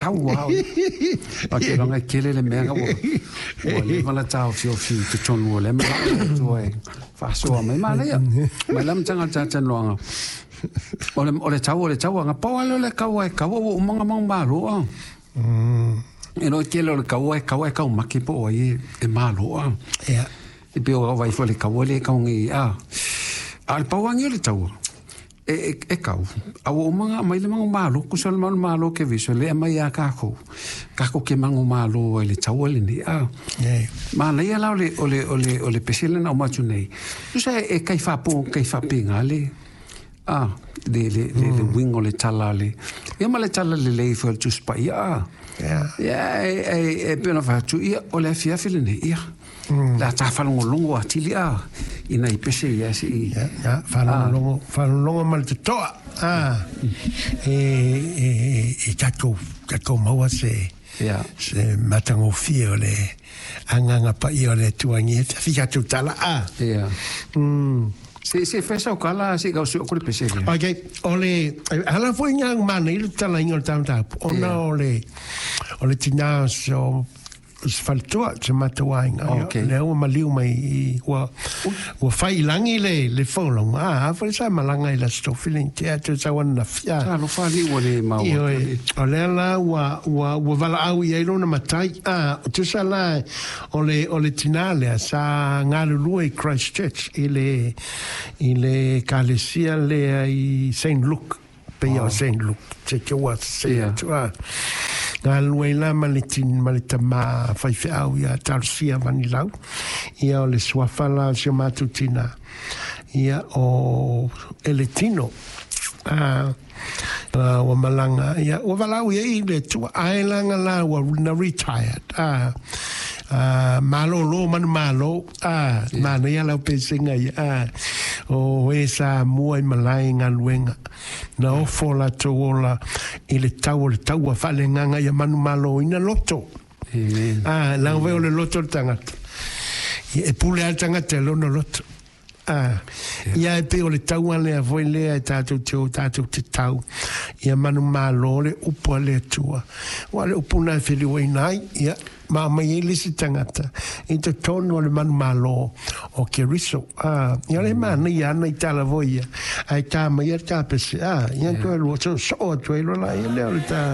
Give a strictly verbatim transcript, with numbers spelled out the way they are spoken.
Taua o te longa kele le mea ua ua leva la taofiofi i totonu o lea manao o Atua e faasoa mai. Manaia mai le amataga o le talatalanoaga o le o le tau o le tauaga pau lava lea o le kaua e kaua ua uma ona manumalo a. E iloa tele o le kaua e kaua e taumate po o ai e malo a. E pei o vaai foi i le kaua lea e kau nei a. A o le pau lava lenei o le taua e, e, e kau, a ua uma ona aumai le manumalo, tusa o le manumalo Keriso lea e aumai ia tatou, tatou te manumalo ai i le taua lenei a. Manaia la o le, o le, o le, o le pese lea na aumai atu nei, tusa e, e tai faapo, tai faapena le, a, le, le, le, le uiga o le tala a le, ia ma le tala lelei foi o le Tusi Paia a. Ia, e, e, e pei ona fai atu, ia, o le afiafi lenei, ia, le a ta faalogologo atili a i nai pese ia se i. Ia, ia, faalogologo, faalogologo ma le totoa, a, e, e, e tatou, tatou maua se, Ia. se matagofie o le agaga paia o le Atua i afiafi tatou tala, a. Ia. Mm. Se se fai sau kala se i gausi o le pese lea. Ok, o le, ala foi ngā mana i le talainga o le tāmatapu, ona Ia. o le, o le tinā so, se faletua, se matou aiga, ia, Ok. lea ua maliu mai i, ua, ua fai i lagi le, le folauga, a, a foi sa malaga i le Aso Tofi i tea atu sau ananafi, a. Talofa alii ua le maua atu Ioe, le. o lea la ua, ua, ua valaau i ai lona matai, a, tusa la, o le, o le tinā lea sa galulue i Christchurch, i le, i le ekalesia lea i Saint Luke, pei o Saint Luke, se te ua se Ia. atu, a. Galulue ai la ma le tin, ma le tamā faifeau ia Talosia Vanilau, ia o le suafa la o si o matou tinā, ia o Eletino, a, a, ua malaga, ia ua valaau i ai i le Atua, ae laga la ua na retired, a, a, malōlō manumalo, a, manaia lau pesega ia, a, o e sa mua i malae i galuega, na ofo o latou ola i le tau o le taua faaleagaga ia manumaloina loto. Amen. A, leaga foi o le loto o le tagata. Ia, e pule lava le tagata i lona loto. A, ia e pei o le taua lea foi lea e tatou te o tatou te tau, ia manumalo le upu a le Atua. Aua o le upu lena e feliuaina ai, ia, ma aumai ai le isi tagata i totonu o le manumalo o Keriso. A, ia o le manaia ana i tala foi ia, ae ta mai ia le tapese, a, ia toe lua, soo atu ai loa laia lea o le ta.